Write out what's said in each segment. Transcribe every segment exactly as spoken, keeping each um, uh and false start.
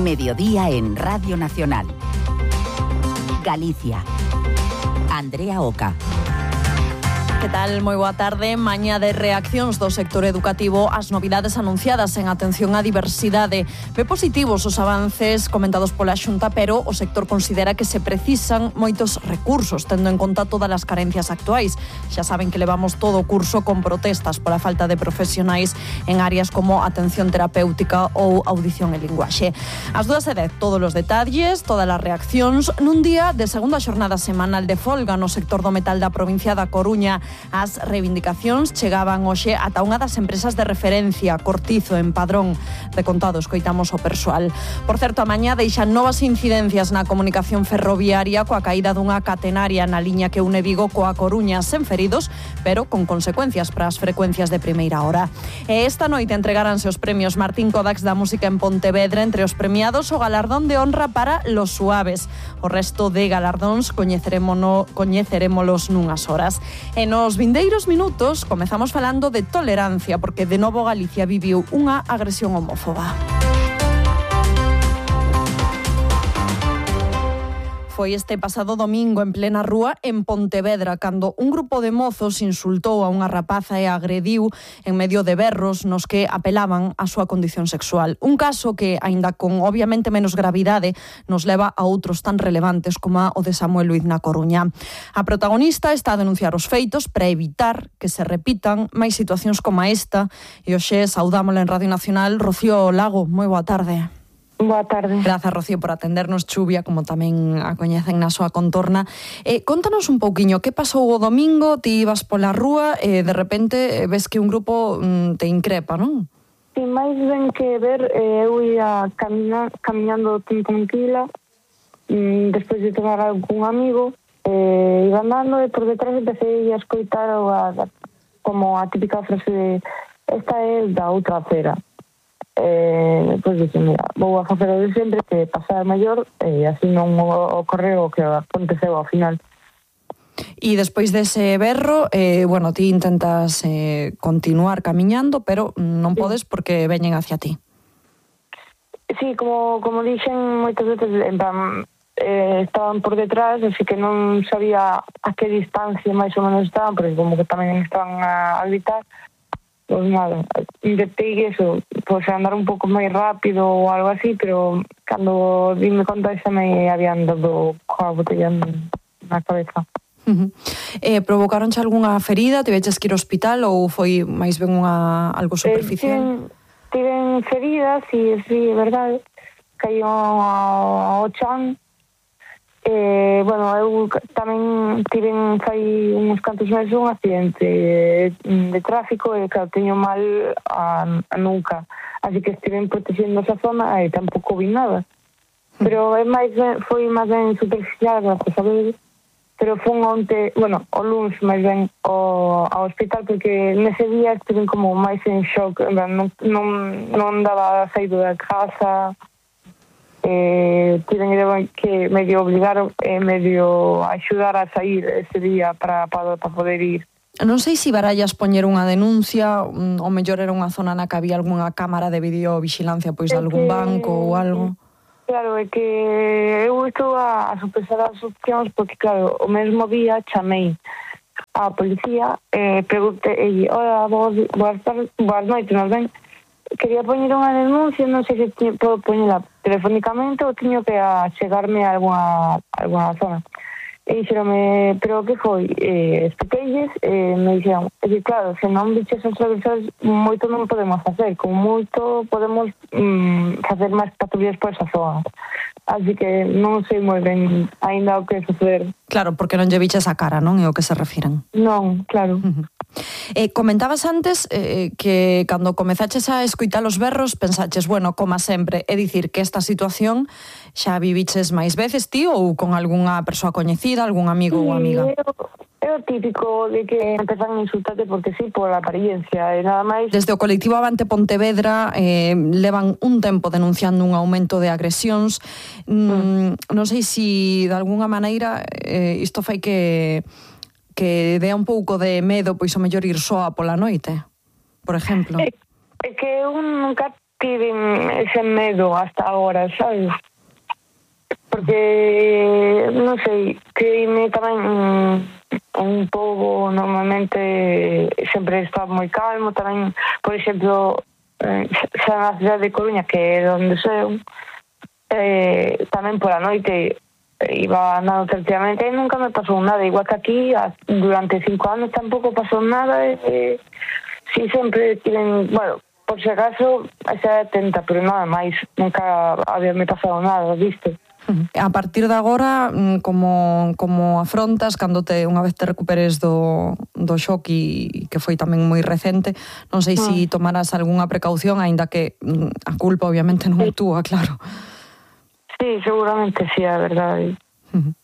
Mediodía en Radio Nacional. Galicia. Andrea Oca. Que tal? Moi boa tarde. Mañá de reaccións do sector educativo ás novidades anunciadas en atención á diversidade. Ve positivos os avances comentados pola Xunta, pero o sector considera que se precisan moitos recursos, tendo en conta todas as carencias actuais. Xa saben que levamos todo o curso con protestas pola falta de profesionais en áreas como atención terapéutica ou audición e linguaxe. As dúas e dez, todos os detalles, todas as reaccións, nun día de segunda xornada semanal de folga no sector do metal da provincia da Coruña. As reivindicacións chegaban hoxe ata unha das empresas de referencia, Cortizo, en Padrón. De contado, escoitamos o persoal. Por certo, a mañá deixan novas incidencias na comunicación ferroviaria coa caída dunha catenaria na liña que une Vigo coa Coruña, sen feridos, pero con consecuencias para as frecuencias de primeira hora. E esta noite entregaranse os premios Martín Kodax da música en Pontevedra. Entre os premiados, o galardón de honra para Los Suaves. O resto de galardóns coñecerémonos, coñecerémolos nunhas horas. E nos vindeiros minutos comezamos falando de tolerancia, porque de novo Galicia viviu unha agresión homófoba. Foi este pasado domingo en plena rúa en Pontevedra, cando un grupo de mozos insultou a unha rapaza e agrediu en medio de berros nos que apelaban á súa condición sexual. Un caso que, aínda con obviamente menos gravidade, nos leva a outros tan relevantes como o de Samuel Luiz na Coruña. A protagonista está a denunciar os feitos para evitar que se repitan máis situacións como esta. E hoxe saudámola en Radio Nacional, Rocío Lago. Moi boa tarde. Boa tarde. Grazas, Rocío, por atendernos. Chuvia, como tamén a coñecen na súa contorna. Eh, contanos un pouquiño, que pasou o domingo? Ti ibas pola rúa e de repente ves que un grupo mm, te increpa, non? Si, máis ben que ver, eh, eu ia caminar, caminando tranquila, mm, despois de tomar algún amigo, eh, iba andando e por detrás empecé a escoitar a, a, como a típica frase de esta é da outra acera. Eh, pois dixen, mira, vou a facer o de sempre, que pasar maior, e así non ocorreu o que aconteceu ao final. E despois dese berro, eh, bueno, ti intentas eh, continuar camiñando, pero non podes porque veñen hacia ti. Sí, como, como dixen moitas veces, en plan, eh, estaban por detrás, así que non sabía a que distancia máis ou menos estaban, porque como que tamén estaban a, a gritar. Pois nada, intentei eso, pois andar un pouco máis rápido ou algo así, pero cando dime conta xa me habían dado coa botella na cabeza. Uh-huh. Eh, provocaronche algunha ferida? Tiveches que ir ao hospital ou foi máis ben unha algo superficial? Eh, tiven, tiven feridas, si, si, é verdade. Caío ao chan. Eh, bueno, eu tamén tiven fai uns cantos meses un accidente de tráfico e claro, teño mal a, a nuca, así que estiven protegendo esa zona e tampouco vi nada, pero é máis, foi máis ben superficial, gracias a ver, pero fun onte, bueno, o luns máis ben ao, ao hospital, porque nese día estiven como máis en shock, non, non, non daba saído da casa. Eh, tiven que medio obligaron e eh, medio axudar a sair ese día para, para, para poder ir. Non sei se barallas poñer unha denuncia, ou mellor era unha zona na que había algunha cámara de videovigilancia, pois de algún que, banco ou algo. Claro, é que eu estou a, a sopesar as opcións porque, claro, o mesmo día chamei a policía e eh, preguntei, hola, boas, boas, boas noites, non ben? Quería poñer unha denuncia, non sei se podo poñela telefónicamente ou tiño que achegarme a alguna, alguna zona. E dixeronme, pero que foi? Eh, expliqueilles, e me dixeron, é que claro, se non biches os revisores, moito non podemos facer, con moito podemos mm, facer máis patrullas por esa zona. Así que non sei moi ben ainda o que facer. Claro, porque non lle biches a cara, non? É o que se refiren. Non, claro. Uh-huh. Eh, comentabas antes eh, que cando comezaches a escoitar os berros pensaches, bueno, como sempre, é dicir que esta situación xa viviches máis veces ti ou con algunha persoa coñecida, algún amigo sí, ou amiga? É o típico de que empezan a insultarte porque sí, por a apariencia e nada máis. Desde o colectivo Avante Pontevedra eh, levan un tempo denunciando un aumento de agresións. Mm, mm. Non sei se de algunha maneira eh, isto fai que que dea un pouco de medo, pois o mellor ir soa pola noite, por exemplo. É, é que eu nunca tiven ese medo hasta agora, sabes? Porque, non sei, creíme tamén un, un pobo normalmente sempre está moi calmo, tamén, por exemplo, xa na cidade de Coruña, que é onde sou, eh, tamén pola noite iba andando tranquilamente e nunca me pasou nada, igual que aquí durante cinco anos tampouco pasou nada, e si sempre tiven, bueno, por si acaso xa atenta, pero nada máis, nunca había me pasado nada, viste? A partir de agora, como, como afrontas cando te unha vez te recuperes do, do shock e que foi tamén moi recente, non sei se si tomarás algunha precaución, aínda que a culpa obviamente non é túa, claro. Sí, seguramente sí, a verdade. Uh-huh.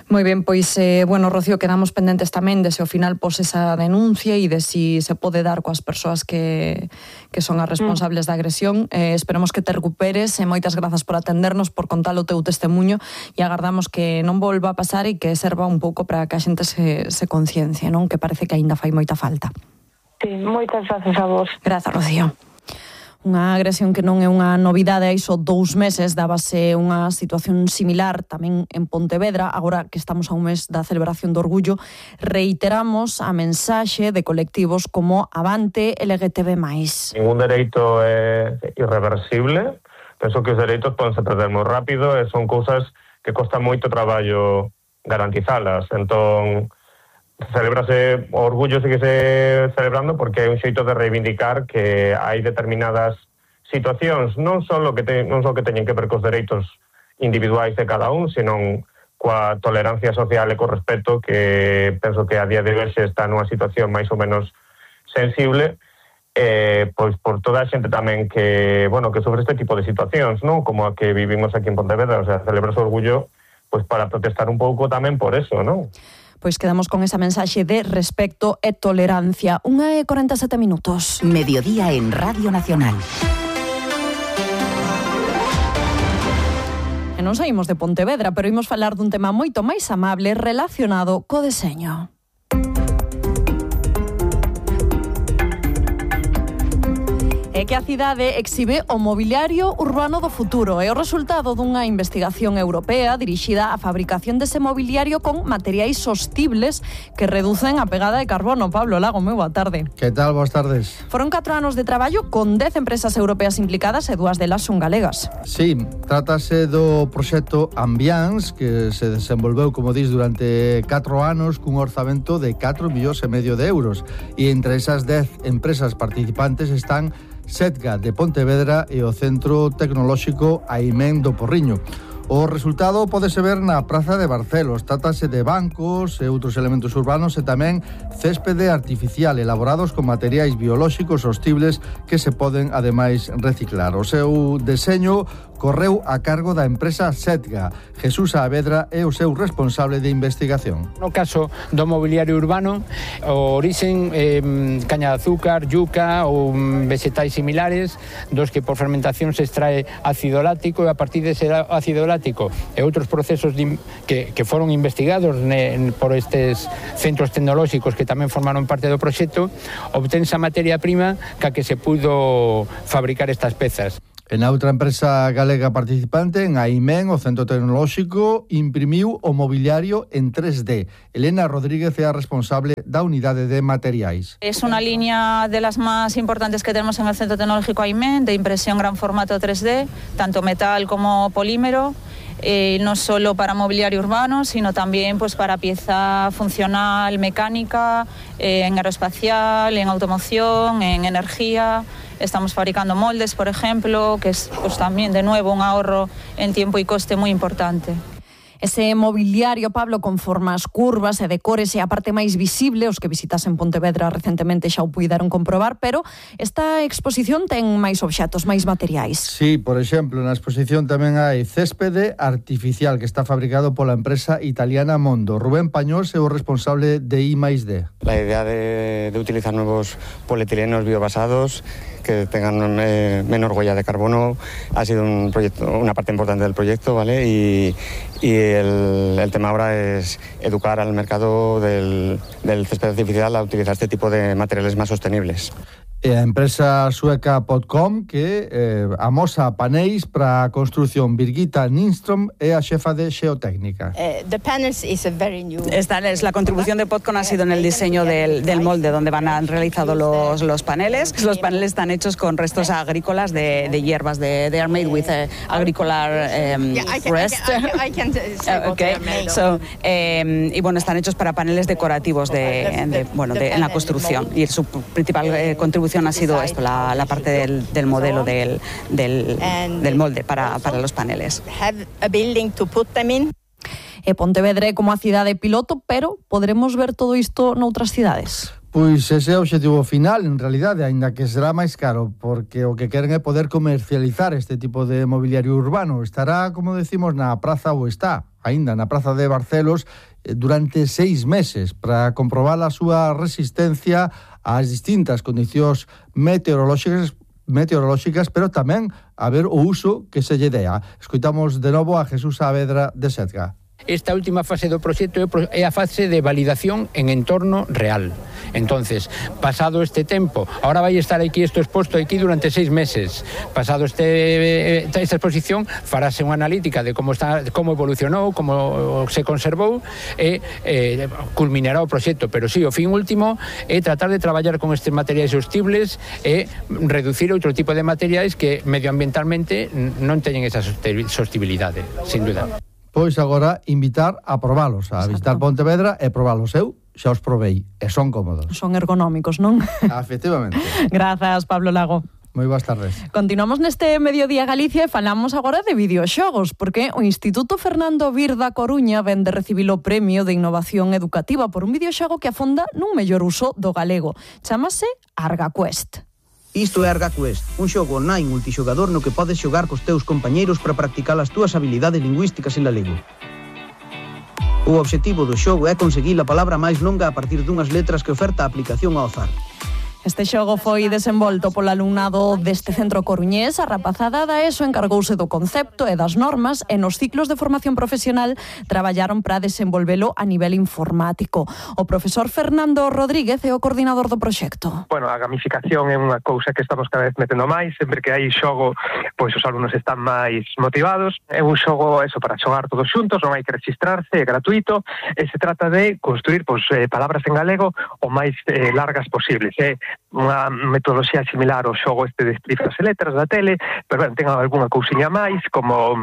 Moi ben, pois, eh, bueno, Rocío, quedamos pendentes tamén de se ao final pos esa denuncia e de si se pode dar coas persoas que, que son as responsables mm. da agresión. Eh, esperemos que te recuperes e moitas grazas por atendernos, por contar o teu testemunho e agardamos que non volva a pasar e que serva un pouco para que a xente se, se conciencia, non? Que parece que aínda fai moita falta. Sí, moitas grazas a vos. Grazas, Rocío. Unha agresión que non é unha novidade, hai só dous meses dábase unha situación similar tamén en Pontevedra. Agora que estamos a un mes da celebración do Orgullo, reiteramos a mensaxe de colectivos como Avante L G T B máis. Ningún dereito é irreversible. Penso que os dereitos podense perder moi rápido e son cousas que costa moito traballo garantizalas. Entón, celebrase o orgullo, sigue se celebrando porque é un xeito de reivindicar que hai determinadas situacións non só que te, non só que teñen que ver cos dereitos individuais de cada un, senón coa tolerancia social e co respeto, que penso que a día de hoxe está nunha situación máis ou menos sensible, eh, pois por toda a xente tamén que, bueno, que sofre este tipo de situacións, non? Como a que vivimos aquí en Pontevedra, o sea, celebrase o orgullo pois para protestar un pouco tamén por eso, non? Pois quedamos con esa mensaxe de respecto e tolerancia. Unha e corenta e sete minutos. Mediodía en Radio Nacional. E non saímos de Pontevedra, pero imos falar dun tema moito máis amable relacionado co deseño. É que a cidade exhibe o mobiliario urbano do futuro. É o resultado dunha investigación europea dirixida á fabricación dese mobiliario con materiais sostibles que reducen a pegada de carbono. Pablo Lago, moi boa tarde. Que tal? Boas tardes. Foron catro anos de traballo con dez empresas europeas implicadas e dúas delas son galegas. Sí, trátase do proxecto Ambiance, que se desenvolveu, como dis, durante catro anos cun orzamento de catro millóns e medio de euros. E entre esas dez empresas participantes están Setga de Pontevedra e o Centro Tecnolóxico Aimén do Porriño. O resultado pódese ver na Praza de Barcelos. Trátase de bancos e outros elementos urbanos e tamén céspede artificial elaborados con materiais biolóxicos sostibles que se poden, ademais, reciclar. O seu deseño correu a cargo da empresa Setga. Jesús Saavedra é o seu responsable de investigación. No caso do mobiliario urbano, o orixen é eh, caña de azúcar, yuca ou vegetais similares, dos que por fermentación se extrae ácido láctico, e a partir dese ácido láctico e outros procesos de, que, que foron investigados ne, por estes centros tecnolóxicos que tamén formaron parte do proxecto, obtense a materia prima ca que se pudo fabricar estas pezas. En outra empresa galega participante, en Aimén, o Centro Tecnolóxico, imprimiu o mobiliario en tres D. Elena Rodríguez é a responsable da unidade de materiais. Es una línea de las más importantes que tenemos en el Centro Tecnológico Aimén, de impresión gran formato tres D, tanto metal como polímero. Eh, no solo para mobiliario urbano, sino también pues para pieza funcional, mecánica, eh, en aeroespacial, en automoción, en energía. Estamos fabricando moldes, por ejemplo, que es pues también de nuevo un ahorro en tiempo y coste muy importante. Ese mobiliario, Pablo, con formas curvas e decores é a parte máis visible, os que visitasen Pontevedra recentemente xa o puideron comprobar, pero esta exposición ten máis obxatos, máis materiais. Sí, por exemplo, na exposición tamén hai céspede artificial que está fabricado pola empresa italiana Mondo. Rubén Pañós é o responsable de I máis D. La idea de, de utilizar nuevos polietilenos biobasados que tengan eh, menor huella de carbono ha sido un proyecto, una parte importante del proyecto, ¿vale? Y, y el, el tema ahora es educar al mercado del, del césped artificial a utilizar este tipo de materiales más sostenibles. E a empresa sueca Podcom que eh, amosa paneis para a construción. Birgitta Nindström é a xefa de xeotécnica. Esta es la contribución de Podcom ha sido en el diseño del, del molde donde van a han realizado los, los paneles. Los paneles están hechos con restos agrícolas de, de hierbas. De, they are made with uh, agricolar um, rest. Okay. So, eh, y bueno, están hechos para paneles decorativos de, de, bueno, de, en la construcción. Y su principal eh, contribución ha sido esto, la, la parte del, del modelo del, del, del molde para, para los paneles. E Pontevedra como a cidade piloto, pero poderemos ver todo isto noutras cidades. Pois ese é o obxectivo final, en realidade, aínda que será máis caro, porque o que queren é poder comercializar este tipo de mobiliario urbano. Estará, como decimos, na praza, ou está, aínda na praza de Barcelos, durante seis meses, para comprobar a súa resistencia ás distintas condicións meteorolóxicas, meteorolóxicas, pero tamén a ver o uso que se lle dea. Escoitamos de novo a Jesús Saavedra de Setga. Esta última fase do proxecto é a fase de validación en entorno real. Entonces, pasado este tempo, ahora vai estar aquí isto exposto aquí durante seis meses. Pasado este esta exposición, farase unha analítica de como está, como evolucionou, como se conservou e eh, culminará o proxecto. Pero sí, o fin último é tratar de traballar con estes materiais sostibles e reducir outro tipo de materiais que medioambientalmente non teñen esa sostibilidade, sin duda. Pois agora invitar a probalos, a visitar Pontevedra e probalos. Eu xa os probei e son cómodos. Son ergonómicos, non? Efectivamente. Grazas, Pablo Lago. Moi boas tardes. Continuamos neste Mediodía Galicia e falamos agora de videoxogos, porque o Instituto Fernando Vir da Coruña ven de recibir o Premio de Innovación Educativa por un videoxogo que afonda nun mellor uso do galego. Chámase ArgaQuest. Isto é ArgaQuest, un xogo online multixogador no que podes xogar cos teus compañeiros para practicar as túas habilidades lingüísticas en galego. O obxectivo do xogo é conseguir a palabra máis longa a partir dunhas letras que oferta a aplicación ao azar. Este xogo foi desenvolto polo alumnado deste centro coruñés. A rapazada da ESO encargouse do concepto e das normas e nos ciclos de formación profesional traballaron para desenvolvelo a nivel informático. O profesor Fernando Rodríguez é o coordinador do proxecto. Bueno, a gamificación é unha cousa que estamos cada vez metendo máis. Sempre que hai xogo, pois os alumnos están máis motivados. É un xogo eso para xogar todos xuntos, non hai que registrarse, é gratuito e se trata de construir pois, eh, palabras en galego o máis eh, largas posibles. É eh. unha metodoloxía similar ao xogo este de cifras e letras da tele, pero ben, ten algunha cousiña máis, como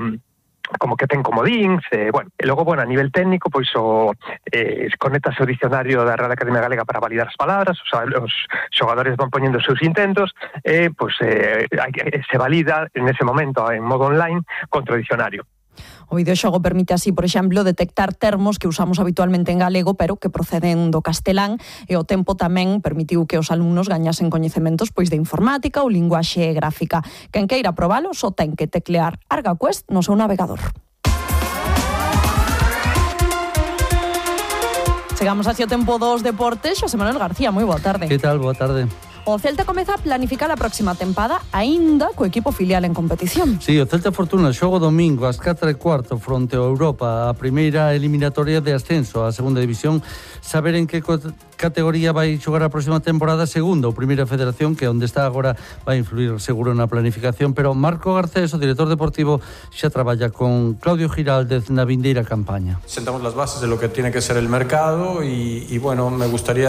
como que ten comodíns, e, bueno, e logo, bueno, a nivel técnico, pois o eh, conectase o dicionario da Real Academia Galega para validar as palabras, os, os xogadores van poñendo os seus intentos, e, pois, eh, se valida en ese momento en modo online contra o dicionario. O videoxogo permite así, por exemplo, detectar termos que usamos habitualmente en galego, pero que proceden do castelán, e o tempo tamén permitiu que os alumnos gañasen coñecementos pois de informática ou linguaxe gráfica. Quen queira probalo só ten que teclear ArgaQuest no seu navegador. Chegamos así ao tempo dos deportes. Xosé Manuel García, moi boa tarde. Que tal? Boa tarde. O Celta comeza a planificar a próxima tempada aínda co equipo filial en competición. Sí, o Celta Fortuna xoga domingo ás catro e cuarto fronte ao Europa, a primeira eliminatoria de ascenso á segunda división. Saber en que categoría vai xogar a próxima temporada, segunda ou primeira federación, que onde está agora vai influir seguro na planificación, pero Marco Garcés, o director deportivo, xa traballa con Claudio Giraldez na vindeira campaña. Sentamos las bases de lo que tiene que ser el mercado y, y bueno, me gustaría